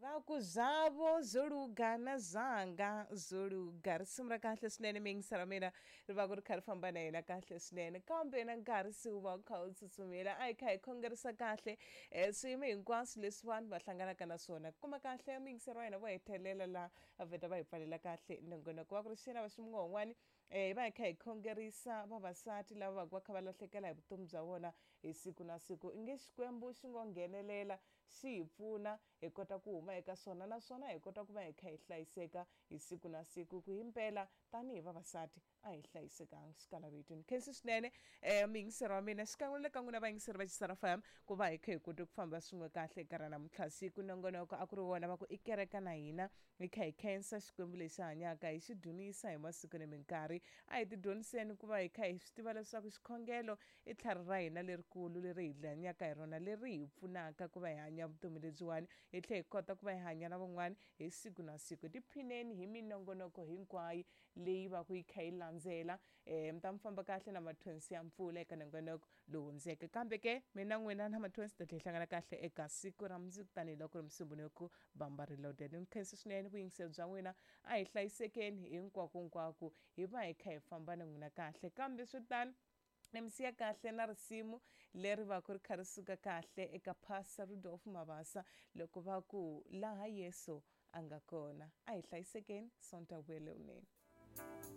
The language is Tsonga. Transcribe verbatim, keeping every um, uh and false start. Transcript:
Va ku zwavo zwo luga na zwanga zwo luga. Risimu ra kahle swinene, miyingiselo ra mina ri va ku ri kha ri famba na yena kahle swinene, kambe na nkarhi se wu va wu kha wu tsutsumile. A hi kha hi khongerisa kahle um swiyimo hinkwaswo leswi vanhu va hlanganaka na swona. Kuma kahle miyingiselo wa hina vo hetelela laha va vheta va hi pfalela kahle nongonoko wa ku ri xena va ximungwani. um hi va hi kha hi khongerisa vavasati lava va va kha va lahlekela hi vutomi bya vona hi siku na siku. I nge Xikwembu xi ngo nghenelela, xi hi pfuna hi kota ku huma eka swona, naswona hi kota ku va hi kha hi hlayiseka hi siku na siku, ku himpela tanihi vavasati a hi hlayisekanga xikalavetweni. Khensi swinene um muyingiseri wa mina, xikan'we na le ka n'wina vayingiseri va Xisara F M, ku va hi kha hi kote ku famba swin'we kahle eka ra namuntlha siku. Nongonoko a ku ri wona va ku i kereka na hina, hi kha hi khensa Xikwembu lexi hanyaka, hi xi dzunisa hi masiku ni minkarhi. A hi tidyondziseni ku va hi kha hi swi tiva leswaku xikhongelo i tlhari ra hina lerikulu leri hi hanyaka hi rona, leri hi pfunaka ku va hi hanya vutomi lebyiwani, hi tlhela hi kota ku va hi hanya na van'wani hi siku na siku. Tiphineni hi minongonoko hinkwayo leyi va ku yi kha yi landzela. um mi ta mi famba kahle na mathonsi ya mpfula eka nongonoko lowu hundzeke, kambe ke mina n'wina na mathonsi ta tlhela hi hlangana kahle eka siku ra mundzuku, tanihiloko ri musumbhunuku bamba ri loaded. Ni khensa swinene vuyingiseri bya n'wina. A hi hlayisekeni hinkwako hi va hi kha hi famba na n'wina kahle, kambe swi tano ni mi siya kahle na risimu leri va ku ri kha ri suka kahle eka Pastor Rudolf Mabasa loko va ku laha Yesu a nga kona. A hi hlayisekeni, sonta vuyelewunene.